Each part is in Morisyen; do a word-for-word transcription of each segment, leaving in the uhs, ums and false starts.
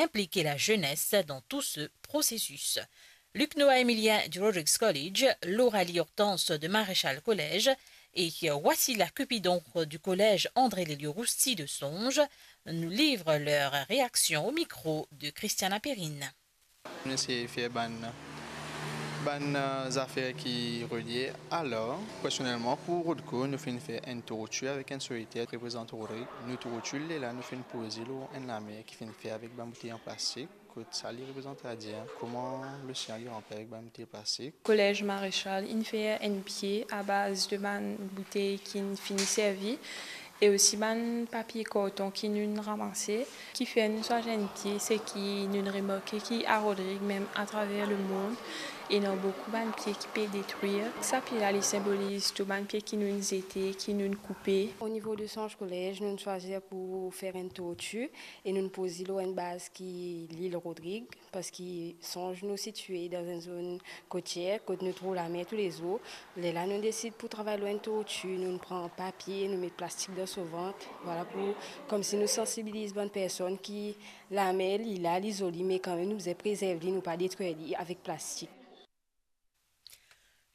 impliquer la jeunesse dans tout ce processus. Luc Noah Emilien du Rodrigues College, Laura Lee Hortense de Maréchal Collège et Wassila Cupidon du collège André Lelio Rousti de Songe nous livrent leur réaction au micro de Christiana Perrine. Nou eseye fer bann, bann, euh, zafer ki relie. Alor, personelman, pou Rodco, nou finn fer enn torti avek enn soliter reprezant Rodrig. Nou torti lerla nou finn poze lor enn lamer ki finn fer avek bann boutey an plastik, kot sa li reprezant, setadir kouma losian li ranpli avek bann boutey plastik. Kolez Maréchal inn fer enn pie abaz de bann boutey ki inn fini servi e osi bann papie karton ki nou'nn ramase. Ki fer nou swazir enn pie, seki nou'nn remarke ki a Rodrig, mem atraver lemond, ena boukou bann pie ki pe detrir. Sa pie la, li sinboliz tou bann pie ki nou'nn zete, ki nou'nn koupe. O nivo de Songe Collège, nou'nn swazir pou fer enn torti e nou'nn poz li lor enn baz ki lil Rodrig, parski Songe nou sitie dan enn zonn kotier, kot nou trouv lamer toulezour. Lerla nou desid pou travay lor enn torti, nou pran papie, nou met plastik dan so vant, vwala, pou koumsi nou sansibiliz bann personn ki lamer li la, li zoli, me kanmem nou bizin prezerv li, nou pa detrir li avek plastik.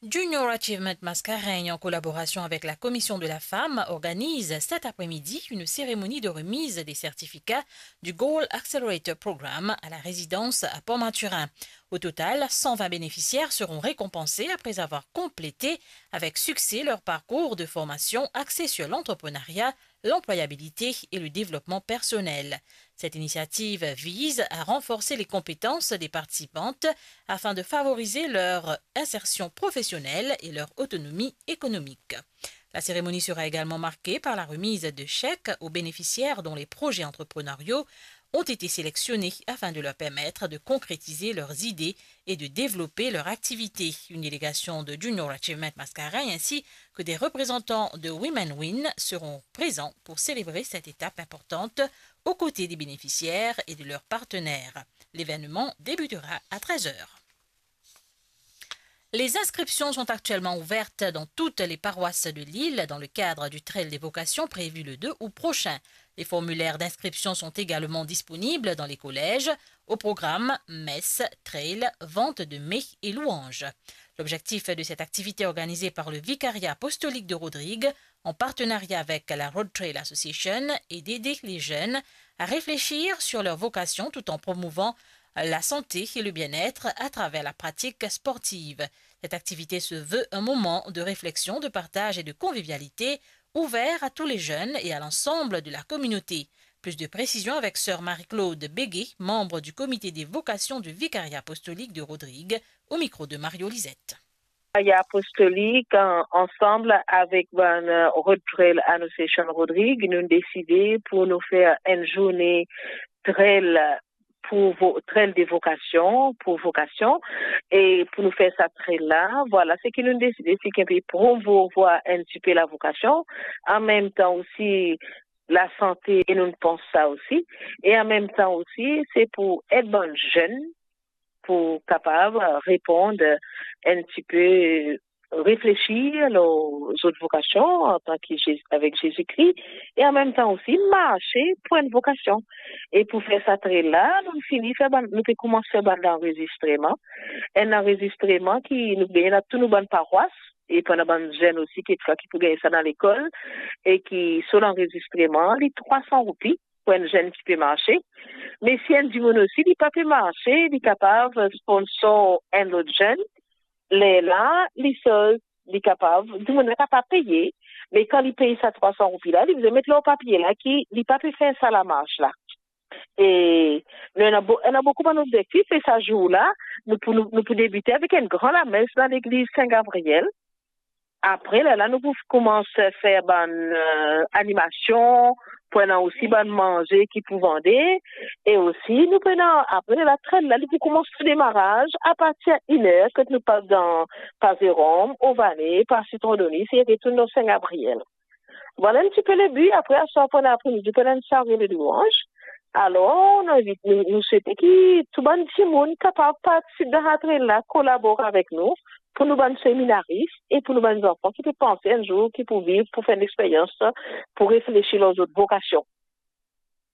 Junior Achievement Mascareignes, en collaboration avec la Commission de la Femme, organise cet après-midi une cérémonie de remise des certificats du Goal Accelerator Programme à la résidence à Port-Mathurin. Au total, cent vingt bénéficiaires seront récompensés après avoir complété avec succès leur parcours de formation axé sur l'entrepreneuriat, l'employabilité et le développement personnel. Cette initiative vise à renforcer les compétences des participantes afin de favoriser leur insertion professionnelle et leur autonomie économique. La cérémonie sera également marquée par la remise de chèques aux bénéficiaires dont les projets entrepreneuriaux ont été sélectionnés afin de leur permettre de concrétiser leurs idées et de développer leur activité. Une délégation de Junior Achievement Mascareignes ainsi que des représentants de Women Win seront présents pour célébrer cette étape importante aux côtés des bénéficiaires et de leurs partenaires. L'événement débutera à treize heures. Les inscriptions sont actuellement ouvertes dans toutes les paroisses de l'île dans le cadre du Trail des vocations prévu le deux août prochain. Les formulaires d'inscription sont également disponibles dans les collèges. Au programme, messe, trail, vente de mets et louanges. L'objectif de cette activité organisée par le Vicariat apostolique de Rodrigue, en partenariat avec la Road Trail Association, est d'aider les jeunes à réfléchir sur leur vocation tout en promouvant la santé et le bien-être à travers la pratique sportive. Cette activité se veut un moment de réflexion, de partage et de convivialité ouvert à tous les jeunes et à l'ensemble de la communauté. Plus de précisions avec sœur Marie-Claude Béguet, membre du comité des vocations du Vicariat apostolique de Rodrigue, au micro de Mario Lisette. Apostolique, an-, ansanm avek bann, euh, Road Trail Association Rodrigue, nou deside pou nou fer enn zourne trail pou vo-, trail de vocation, pou vocation, e pou nou fer sa trail la, vwala, seki nou deside, seki enpe promouvoir enn tipe lavokasion, an mem tan osi lasante, e nou pans sa osi, e an mem tan osi, se pou ed bann zenn pou kapav reponn enn tipe, reflesir lor zot vokasion antan ki Zezi, avek Zezi Kri, e an mem tan osi marse pou enn vokasion. E pou fer sa trail la, nou fini fer bann, nou pe koumans fer bann lanrezistreman. Enn lanrezistreman ki nou gagn dan tou nou bann parwas, e pou ena bann zenn osi, kikfwa ki pou gagn sa dan lekol, e ki so lanrezistreman, li trwa san roupi pou enn zenn ki pe marse. Me si enn dimoun osi, li pa pe marse, li kapav sponsor enn lot zenn, lerla, li soz, li kapav, dimoun la kapav peye, me kan li pey sa trwa san roupi la, li bizin met lor papie la ki li pa pe fer sa lamars la. E nou ena bo-, ena boukou bann obzektif, e sa zour la, nou pou, nou, nou pou debite avek enn gran lames dan legliz Sin Gabriel. Apre, lerla nou pou koumans fer bann, euh, animasion, pou ena osi bann manze ki pou vande, e osi nou pou ena, apre, lerla trail la, li pou koumans so demaraz apartir inn er, kot nou pas dan, par Zerom, Ovane, par Sitron Donis, e retourn dan Sin Gabriel. Vwala enn tipe lebi. Apre, aswar pandan apremidi, pou ena enn soirée de louange. Alor, nou invit, nou, nou swete ki tou bann dimoun kapav partisip dan sa trail la, kolabor avek nou, pou nou bann seminaris e pou nou bann zanfan ki pe panse enn zour ki pou viv, pou fer enn lexperyans, pou reflesi lor zot vokasion.